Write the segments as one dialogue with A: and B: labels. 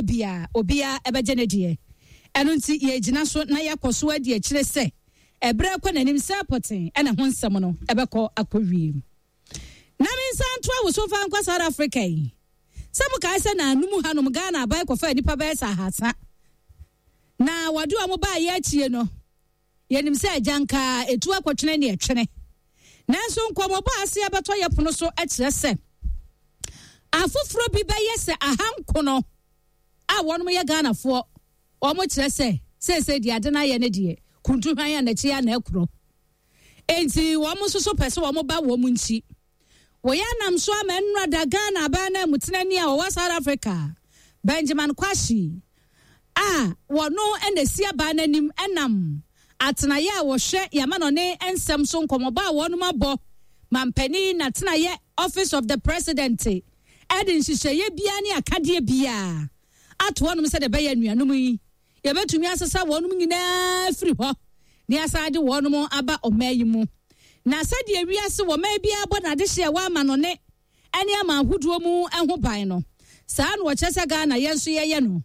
A: biara obiara bɛgye ne deɛ. Ɛno nti yɛregyina so na yɛakɔ so adi akyire sɛ ɛberɛ rekɔ n'anim sɛ pɔtee na ɛho nsɛm no bɛkɔ akɔwie. Na me nsa nto awoso mfa nkɔ South Africa yi. Sɛ mokae sɛ naanu mu hanom Ghana aban kɔfaa nnipa bɛyɛ sɛ ahasa na wɔde wɔn baeɛ akyie no, yɛnim sɛ agyanka ɛtu akɔtwene ne ɛtwene. Nanso nkɔmmɔbɔ a ase abɛtɔ yɛ pono so kyerɛ sɛ afoforɔ bi bɛyɛ sɛ ahankono a wɔnom yɛ Ghanafoɔ. Wɔn kyerɛ sɛ seesei deɛ ade no ayɛ ne deɛ kuntu hwan a n'akyi a na ɛkorɔ. Enti wɔn nso so pɛ sɛ wɔn ba wɔn nkyi. Wɔyɛ anam so ama nnora da Ghana aban no amutenani a ɔwɔ South Africa, Benjamin Kwashi, a wɔno na esi aban no anim nam atenaeɛ a wɔhwɛ yamanɔne nsɛm so nkɔmmɔbɔ a wɔnom abɔ mampanin n'atenaeɛ Office of the President de nhyehyɛeɛ biara ne akadeɛ biara ato hɔnom sɛdeɛ ɛbɛyɛ anuanom yi Yɛbɛtumi asesa wɔnom nyinaa afiri hɔ na yɛasan de wɔnom aba ɔman yi mu. Na sɛdeɛ wiase wɔ man biara bɔ n'adehyeɛ wɔ amanɔne ne aman ahodoɔ mu ho ban no, saa na wɔkyerɛ sɛ Ghana yɛn nso yɛyɛ no.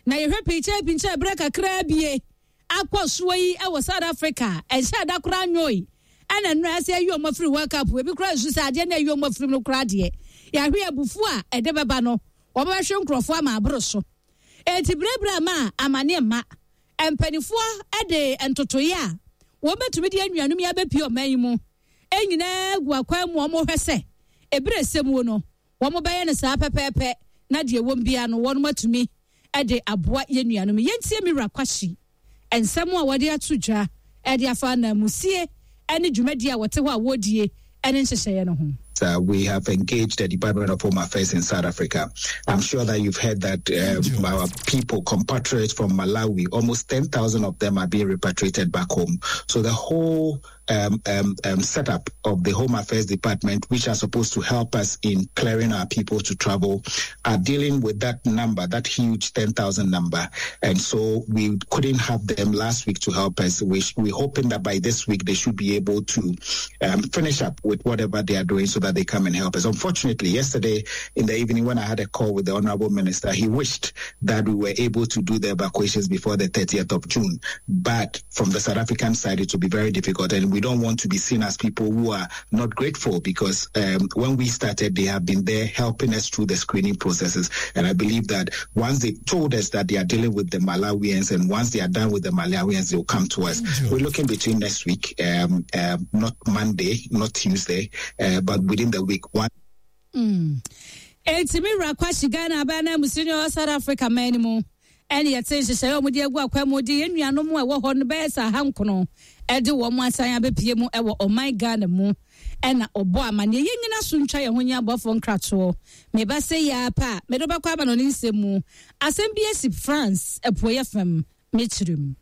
A: Na yɛhwɛ pinkyɛpinkyɛ berɛ kakraa bie akɔ soɔ yi wɔ South Africa a, ɛnhyɛɛ da koraa nwoe ɛna nnora sɛ ayi wɔn afiri World Cup. Ebi koraa nsu sɛ adeɛ no ayi wɔn afiri mu no koraa deɛ, yɛahwe abufuo a ɛde bɛba no, wɔbɛhwe nkurɔfoɔ ama aboro so. Enti berɛberɛ a amaneɛ mma, mpanimfoɔ de ntotoeɛ a wɔbɛtumi de anuanom yi abɛpue ɔman yi mu nyinaa gu akwan mu a wɔhwɛ sɛ ɛberɛ ɛsɛ muo no wɔbɛyɛ no saa pɛpɛɛpɛ na deɛ ɛwom biara no wɔn atumi de aboa yɛn nuanom. Yɛntie me wura Kwahye nsɛm a wɔde ato dwa de afa ananmusie ne dwumadie a wɔte hɔ a wɔredie ne nhyehyɛeɛ no ho.
B: We have engaged the Department of Home Affairs in South Africa. I'm sure that you've heard that our people, compatriots from Malawi, almost 10,000 of them are being repatriated back home. So the whole um, um, um, setup of the Home Affairs Department, which are supposed to help us in clearing our people to travel, are dealing with that number, that huge 10,000 number. And so we couldn't have them last week to help us. We, we're hoping that by this week they should be able to um, finish up with whatever they are doing so that they come and help us. Unfortunately, yesterday in the evening when I had a call with the Honorable Minister, he wished that we were able to do the evacuations before the 30th of June. But from the South African side, it will be very difficult. And we don't want to be seen as people who are not grateful because um, when we started, they have been there helping us through the screening processes. And I believe that once they told us that they are dealing with the Malawians and once they are done with the Malawians, they'll come to us. We're looking between next week, um, um, not Monday, not Tuesday, uh, but within the week. One.
A: Mm. Enti me wura Kwahye Ghana aban na musini ɔwɔ South Africa man no mu ɛne yɛte nhyehyɛeɛ a wɔde agu akwan mu de yɛn nuanom a ɛwɔ hɔ no bɛyɛ sɛ ahankono ɛde wɔn asan abɛpie mu ɛwɔ ɔman Ghana mu ɛna ɔbɔ amaneɛ yɛn nyina so ntwa yɛn ho nyɛ abɔfoɔ nkratoɔ meba sɛ yɛ apa a mede wobɛkɔ ama no ne nsɛm mu asɛm bi asi France apueɛ fam mekyerɛ mu.